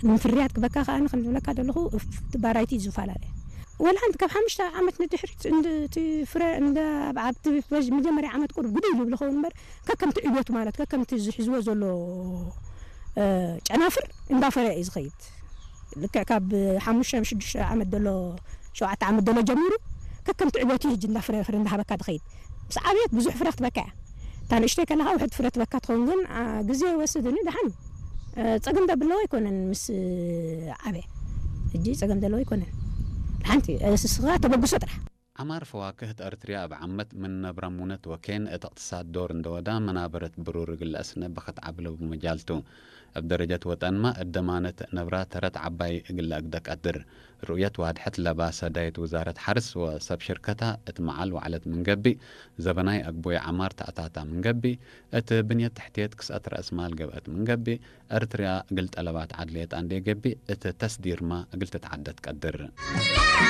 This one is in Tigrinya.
ንምፍርያት ክበካ ከኣ ንክንብለካ ዘለኹ እቲ ባራይቲ እዩ ዝፈላለ። ወላ ሓንቲ ካብ ሓሙሽተ ዓመት ንድሕሪት እንድ-፣ እቲ ፍረ እንደ ኣብ፣ ኣብቲ መጀመርያ ዓመት ቁሩብ ግዲ ኢሉ ይብሉ ኸውን እምበር፣ ከከምቲ ዕብዮቱ ማለት ከከምቲ ዝሕዝዎ ዘሎ፣ እ፣ ጨናፍር እንዳፈረየ እዩ ዝኸይድ። ልክዕ ካብ ሓሙሽተ ሽዱሽተ ዓመት ዘሎ፣ ሸውዓተ ዓመት ዘሎ ጀሚሩ ከከምቲ ዕብዮቱ እዩ ሕጂ እንዳፍረ ፍረ እንዳሃበካ ዝኸይድ። ምስ ዓብየት ብዙሕ ፍረ ክትበካ እያ። እታ ንእሽተይ ከለኻ ውሕድ ፍረ ትበካ ትኸውን፣ ግን፣ አ፣ ግዜ ይወስድ፣ ግን ደሓን እዩ። እ፣ ጸገም ደብለዎ ኣይኮነን ምስ ዓበየ። ሕጂ ጸገም ዘለዎ ኣይኮነን። ሓንቲ፣ እ፣ ስስኻ ተበግሶ ጥራሕ። ዓማር ፈዋክህት ኤርትርያ እብ ዓመት ምን ነብራ ሙነት ወኬን እት እቅትሳድ ዶር እንደወዳ መናበረት ብሩር እግል አስነ በኸት ዓብለ ብመጃልቱ። እብ ደረጀት ወጠንማ እደማነት ነብራ ተረት ዓባይ እግል አግደ ቀድር። ርኡየት ዋድሐት ለባ ሰዳይት ውዛረት ሐርስ ወሰብ ሽርከታ እት መዓል ወዕለት ምን ገብእ፣ ዘበናይ አግቦይ ዓማር ተአታታ ምን ገብእ፣ እት ብንየት ተሕትየት ክስአት ረአስ ማል ገብአት ምን ገብእ፣ ኤርትርያ እግል ጠለባት ዓድልየት አንዴ ገብእ፣ እት ተስዲርማ እግል ትትዓደት ቀድር።